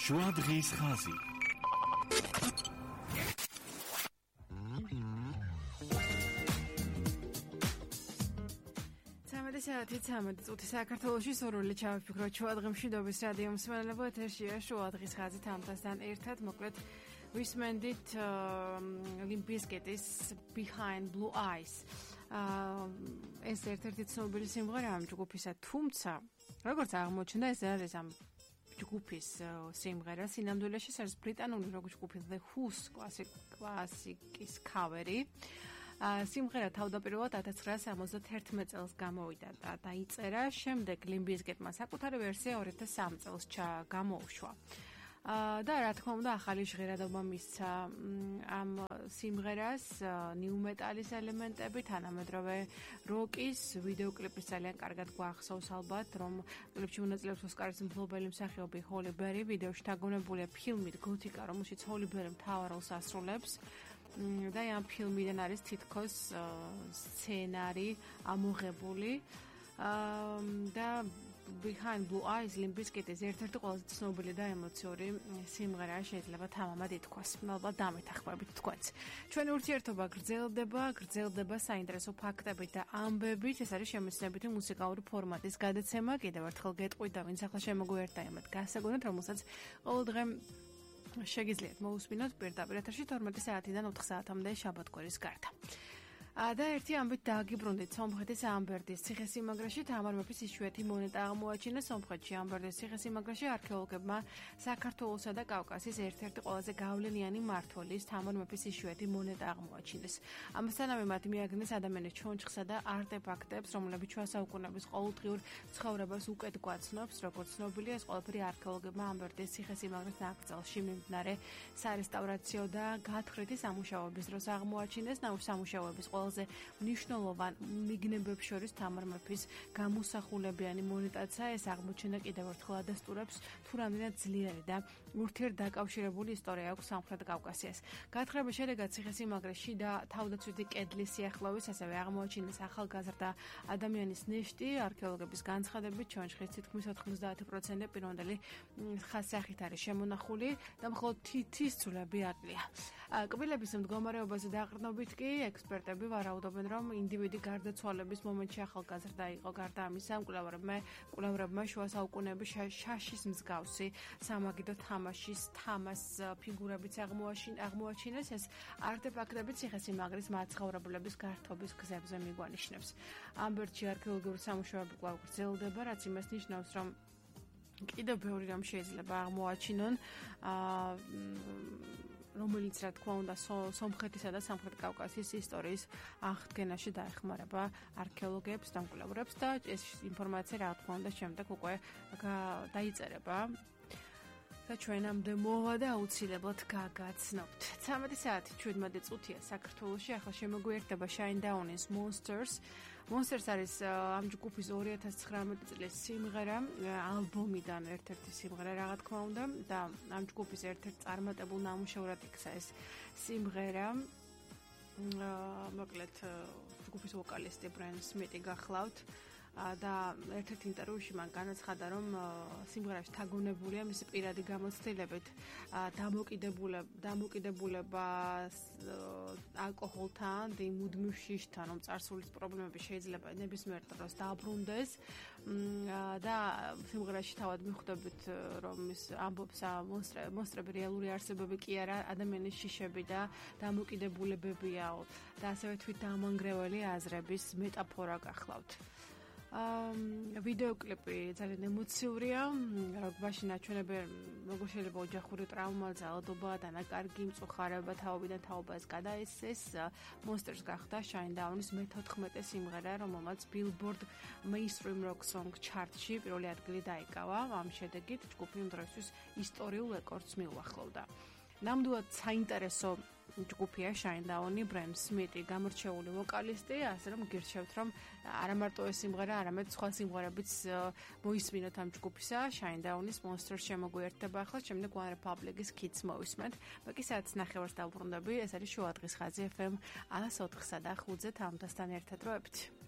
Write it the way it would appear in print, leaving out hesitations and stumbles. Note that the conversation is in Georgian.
შუა დღის ხაზი. საათი 13 წუთი საქართველოში სურვილი ჩავიფიქროთ შუა დღის მშვიდობის რადიო მსმენელებო ეთერშია შუა დღის ხაზი თამთასთან ერთად მოკლედ ვისმენდით Limp Bizkit's Behind Blue Eyes ეს ერთ-ერთი ცნობილი სიმღერა ამ ჯგუფისა თუმცა როგორც აღმოჩნდა ეს არის ამ ჯგუფის სიმღერა სინამდვილეში ეს არის ბრიტანული როკ ჯგუფის The Who's კლასიკის ქავერი სიმღერა თავდაპირველად 1971 წელს გამოვიდა და დაიწერა, შემდეგ Limp Bizkitმა საკუთარი ვერსია 2003 წელს გამოუშვა. და რა თქმა უნდა ახალი ჟღერადობა მისცა ამ სიმღერას ნიუ მეტალის ელემენტები თანამედროვე როკის ვიდეოკლიპის ძალიან კარგად გვახსოვს ალბათ რომ კლიპში მონაწილეობს ოსკარის მფლობელი მსახიობი ჰოლი ბერი ვიდეოში დაგონებულია ფილმით გოთიკა რომელშიც ჰოლი ბერი მთავარ როლს ასრულებს და ამ ფილმიდან არის თითქოს სცენარი ამოღებული და Behind Blue Eyes Limp Bizkit's ერთ-ერთი ყველაზე ცნობილი და ემოციური სიმღერა შეიძლება თამამად ითქვას. ალბათ დამეთანხმებით თქვენც. ჩვენი ურთიერთობა გრძელდება საინტერესო ფაქტებით და ამბებით. ეს არის შემეცნებითი მუსიკალური ფორმატის გადაცემა. კიდევ ერთხელ გეტყვით და ვინც ახლა შემოგვიერთდა იმათ გასაგონად, რომელსაც ყოველ დღე შეგიძლიათ მოусმინოთ პირდაპირ ეთერში 12 საათიდან 4 საათამდე შაბათ-კვირის გარდა. და ერთი ამბით დააგიბრუნდით სომხეთის ამბერდის ციხესიმაგრეში თამარ მეფის იშვიათი მონეტა აღმოაჩინეს სომხეთში ამბერდის ციხესიმაგრეში არქეოლოგებმა საქართველოსა და კავკასიის ერთ-ერთი ყველაზე გავლენიანი მმართველის თამარ მეფის იშვიათი მონეტა აღმოაჩინეს. ამასთანავე მათ მიაგნეს ადამიანის ჩონჩხსა და არტეფაქტებს, რომლებიც შუა საუკუნეების ყოველდღიურ ცხოვრებას უკეთ გვაცნობს, როგორც ცნობილია ეს ყველაფერი არქეოლოგებმა ამბერდის ციხესიმაგრის ნაკრძალში მიმდინარე სარესტავრაციო და გათხრითი სამუშაოების დროს აღმოაჩინეს სამუშაოების ყველაზე მნიშვნელოვან მიგნებებს შორის თამარ მეფის გამოსახულებიანი მონეტაცაა ეს აღმოჩენა კიდევ ერთხელ ადასტურებს თუ რამდენად ძლიერი და ურთიერთდაკავშირებული ისტორია აქვს სამხრეთ კავკასიას. გათხრების შედეგად ციხესიმაგრეში და თავდაცვითი კედლის სიახლოვეს ასევე აღმოაჩინეს ახალგაზრდა ადამიანის ნეშტი არქეოლოგების განცხადებით ჩონჩხის თითქმის 90% პირვანდელი ხასიათით არის შემონახული და მხოლოდ თითის ცულები აკლია. კბილების მდგომარეობაზე დაყრდნობით კი ექსპერტები ვარაუდობენ, რომ ინდივიდი გარდაცვალების მომენტში ახალგაზრდა იყო. გარდა ამისა, მკვლევრებმა შუა საუკუნეების შაშის მსგავსი სამაგიდო თამას ფიგურებიც აღმოაჩინეს. ეს არტეფაქტები ციხესიმაგრის მაცხოვრებლების გართობის გზებზე მიგვანიშნებს. ამბერდში არქეოლოგიური სამუშაოები კვლავ გრძელდება, რაც იმას ნიშნავს, რომ კიდევ ბევრი რამ შეიძლება აღმოაჩინონ რომელიც რა თქმა უნდა სომხეთისა და სამხრეთ კავკასიის ისტორიის აღდგენაში დაეხმარება არქეოლოგებს და მკვლევრებს და ეს ინფორმაცია რა თქმა უნდა შემდეგ უკვე დაიწერება და ჩვენამდე მოვა და აუცილებლად გაგაცნობთ. 13 საათი 17 წუთია საქართველოში ახლა შემოგვიერთდება Shinedown-ის Monsters. Monsters არის ამ ჯგუფის 2019 წლის სიმღერა, ალბომიდან ერთ-ერთი სიმღერა რა თქმა უნდა და ამ ჯგუფის ერთ-ერთ წარმატებულ ნამუშევრად იქცა ეს სიმღერა. მოკლედ ჯგუფის ვოკალისტი Brian Smith გახლავთ. და ერთ-ერთ ინტერვიუში მან განაცხადა, რომ სიმღერაში თაგონებულია მისი პირადი გამოცდილებით დამოკიდებულება ალკოჰოლთან, მუდმივ შიშთან, რომ წარსულის პრობლემები შეიძლება ნებისმიერ დროს დააბრუნდეს და სიმღერაში თავად მიხვდებით, რომ ის ამბობს მონსტრები რეალური არსებები კი არა, ადამიანის შიშები და დამოკიდებულებებია და ასევე თვით დამანგრეველი აზრების მეტაფორა გახლავთ. ვიდეოკლიპი ძალიან ემოციურია, როკბაში ნაჩვენები როგორ შეიძლება ოჯახური ტრავმა, ძალადობა, დანაკარგი, მწუხარება თაობიდან თაობას გადაეცეს. Monsters გახდა Shinedown-ის მე-14 სიმღერა, რომელმაც Billboard Mainstream Rock Song Chart-ში პირველი ადგილი დაიკავა. ამ შედეგით ჯგუფი იმ დროისთვის ისტორიულ რეკორდს მიუახლოვდა. ნამდვილად საინტერესო ჯგუფია Shinedown-ი, Brian Smith გამორჩეული ვოკალისტი, ასე რომ გირჩევთ, რომ არა მარტო ეს სიმღერა, არამედ სხვა სიმღერებიც მოისმინოთ ამ ჯგუფისა, Shinedown-ის Monsters შემოგვიერთდება ახლა, შემდეგ One Republic-ის Kids მოვისმენთ. ბაკი საათს ნახევარს დავბრუნდები, ეს არის შუა დღის ხაზი FM 104-სა და 5-ზე თამთასთან ერთად როებით.